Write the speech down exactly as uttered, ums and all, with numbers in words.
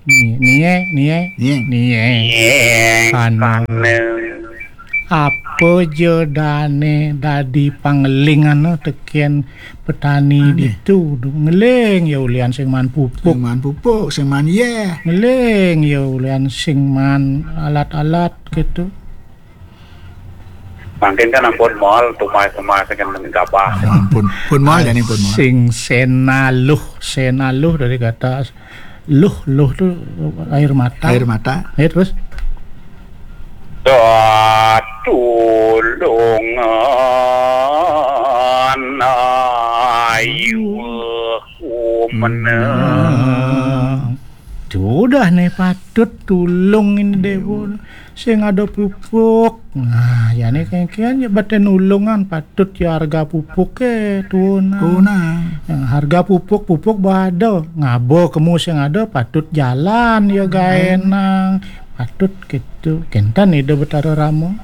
Ni, nie, nie, nie, nie. Kano. Apa ja dane dadi pangelingan tekén petani ditu? Ngeling ya ulian sing maan pupuk. Sing maan pupuk, sing maan yéh. Ngeling ya ulian sing maan alat-alat gitu. Mangkin kan ampun moal tumae-tumae sing gabah. Ampun, pun moal jani pun moal. Sing senaluh, senaluh dari kata luh, luh tuh air mata. Air mata. Ya, terus? Tatulungan ayu menang. Sudah nih patut tulung ini deh, Bu. Sing ada pupuk. Nah, ya nih kengkian ya bate nulungan patut ya harga pupuk ke tuunang. Tuunang. Ya, harga pupuk, pupuk bada. Ngaba kemu sing ada patut jalan ya gaenang. Patut gitu. Kénten Ida Betara Rama.